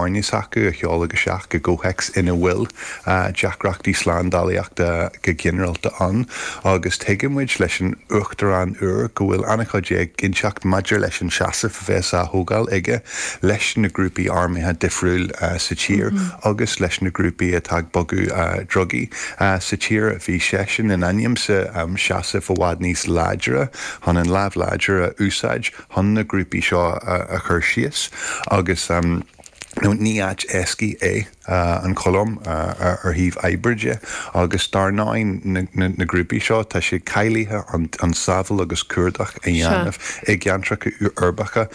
Foirne s'acu a sheoladh isteach i gcomhthéacs ina bhfuil deacrachtaí slándálaíochta go ginearálta ann agus tuigeann muid leis an Uachtarán úr go bhfuil an-chuid éiginnteacht maidir leis an seasamh a bheas á thógáil aige leis na grúpaí armtha difriúil sa tír agus leis na grúpaí atá ag bogadh drugaí sa tír. Bhí seisean in ainm is seasamh i bhfad níos láidre chun an lámh láidir a úsáid chun na grúpaí seo a chur síos agus ní áit éascaí é an Cholóim ar thaobh oibre de agus dar ndóigh na grúpaí seo tá siad cáilithe an sábháil agus cuardach a dhéanamh i gceantracha uirbeacha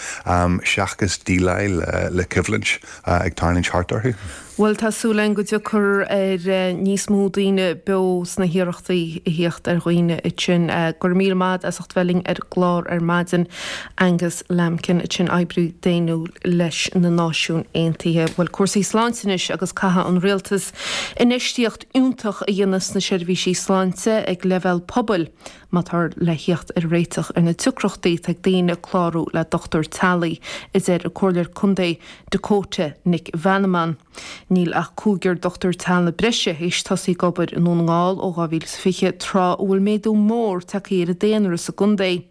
seachas déileáil le coimhlint ag tarlúint thart orthu. Bhuel, tá súil againn go dtiocfar ar níos mó daoine beo sna hiarrachtaí a thíocht ar dhaoine ansin. Go raibh míle maith as ucht bheith linn ar an gclár ar maidin, Angus Lambkin, ansin oibrí daonnúil leis na Náisiúin Aontaithe. Bhuel, cúrsaí sláinte anois agus caithfidh an Rialtas infheistíocht fhiúntach a dhéanamh sna seirbhísí sláinte ag leibhéal pobail má táthar le thíocht ar réiteach ar na deacrachtaí atá ag daoine clárú le dochtúir teaghlaigh, a deir an Comhairleoir Contae Dakota Nic Mheanman. Níl ach cúigear dochtúir teaghlaigh breise théis tosaí ag obair i nDún na nGall ó 2020, tráth a bhfuil méadú mór tagtha ar an daonra sa gcontae.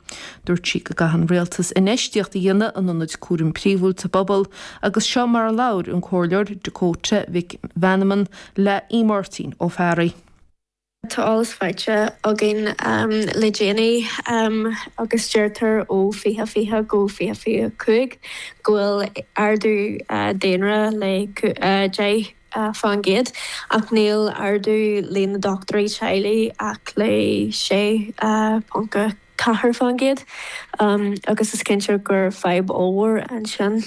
Dúirt sí go gcaithfidh an Rialtas infheistíocht a dhéanamh in ionaid cúraim príomhúil sa bpobal agus seo mar a labhair an Comhairleoir Dakota Mhic Mheanman le Aodh Máirtín Ó Fearraigh. Tá eolas faighte againn le déanaí agus deirtear ó 2020 go 2025 go bhfuil ardú daonra le 10% ach níl ardú líon na dochtúirí teaghlaigh ach le 6.4% agus is cinnte gur fadhb ollmhór ansin.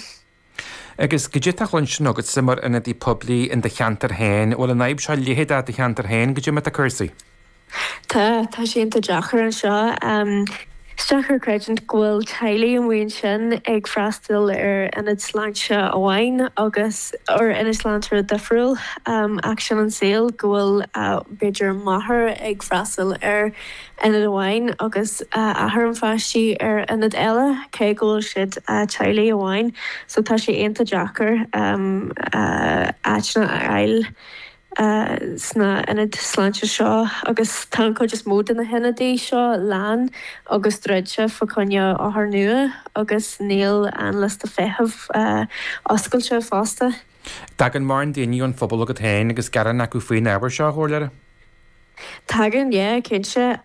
Agus goidé atá á chluinstin agatsa mar ionadaí poiblí in do cheantar féin, bhfuil an fhadhb seo leitheadach i do cheantar féin, goidé mar atá cúrsaí? Tá, tá sé iontach deacair anseo. Is deacair creidiúint go bhfuil teaghlaigh amuigh ansin ag freastal ar ionad sláinte amháin agus ar ionad sláinte difriúil ach sin an saol, go bhfuil b'fhéidir máthair ag freastal ar ionad amháin agus athair an pháistí ar ionad eile, cé go bhfuil siad teaghlaigh amháin. So tá sé iontach deacair áiteanna a fháil sna ionaid sláinte seo agus tá an chuid is mó de na hionadaí seo lán agus druidte fá choinne othair nua agus níl an liosta feithimh oscailte fosta. Tagann mórán daoine ón phobal chugat féin agus gearán acu faoin ábhar seo, a Chomhairleora? Tagann, yeah, cinnte.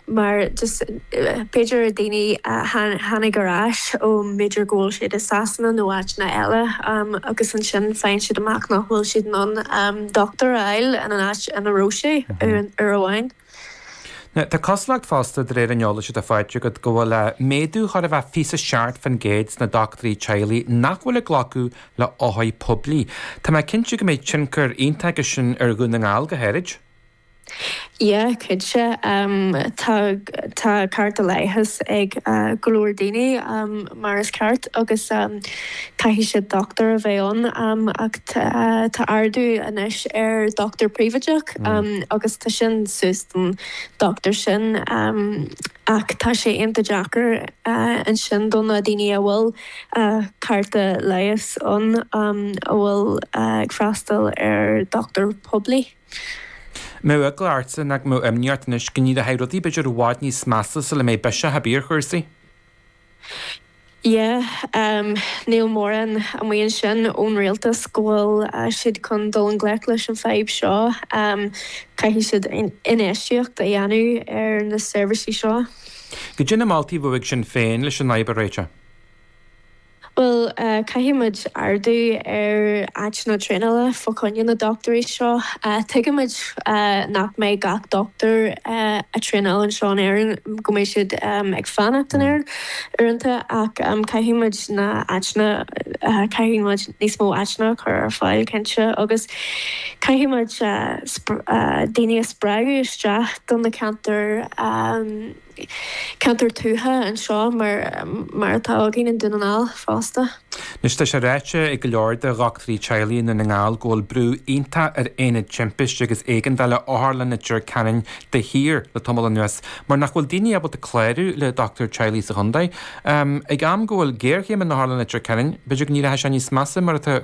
Mar just b'fhéidir daoine a tháinig ar ais ó b'fhéidir go bhfuil siad i Sasana nó áiteanna eile agus ansin faigheann siad amach nach bhfuil siad in ann dochtúir a fháil in an áit ina raibh sé uair amháin. Now, tá cosúlacht fosta, de réir an eolais atá faighte agat, go bhfuil méadú chóir a bheith 27% sna dochtúirí teaghlaigh nach bhfuil ag glacadh le othair poiblí. Tá mé cinnte go mbeidh tionchar iontach aige sin ar Dhún na nGall go háirid. Yeah, cinnte. Tá tá cárta leighis ag go leor daoine mar is ceart agus caithfidh siad dochtúir a bheith ann ach tá ardú anois ar dochtúir príobháideach agus tá sin suas don dochtúir sin ach tá sé iontach deacair ansin do na daoine a bhfuil cárta leighis ann a bhfuil ag freastal ar dochtúir poiblí. Mbeadh eagla ortsa nach mbeadh imní ort anois go n-éireoidh rudaí b'fhéidir i bhfad níos measa sula mbeidh biseach ar bith ar chúrsaí? Yeah, níl mórán amuigh ansin ón rialtas go bhfuil siad chun dul i ngleic leis an fadhb seo. Caithfidh siad infheistíocht a dhéanamh ar na seirbhísí seo. Goidé na moltaí a bheadh ag Sinn Féin leis an fhadhb a réiteach? Bhuel, caithfidh muid ardú ar áiteanna traenála fá choinne na dochtúirí seo. Tuigimid nach mbeidh gach dochtúir a traenáil anseo in Éirinn, go mbeidh siad ag fanacht in Éirinn uaireanta, ach caithfidh muid na áiteanna, caithfidh muid níos mó áiteanna a chur ar fáil, cinnte, agus caithfidh muid daoine a spreagadh isteach do na ceantair. ceantar tuaithe anseo mar mar atá againn i nDún na nGall fosta. Anois tá sé ráite ag go leor de dhochtúirí teaghlaigh i nDún na nGall go bhfuil brú iontach ar Aonad Timpiste agus Éigeandála Otharlann Leitir Ceanainn de shíor le tamall anuas mar nach bhfuil daoine ábalta clárú le dochtúir teaghlaigh sa chontae. Ag am go bhfuil géarchéim in Otharlann Leitir Ceanainn, b'fhéidir go n-éireoidh sé níos measa mar atá.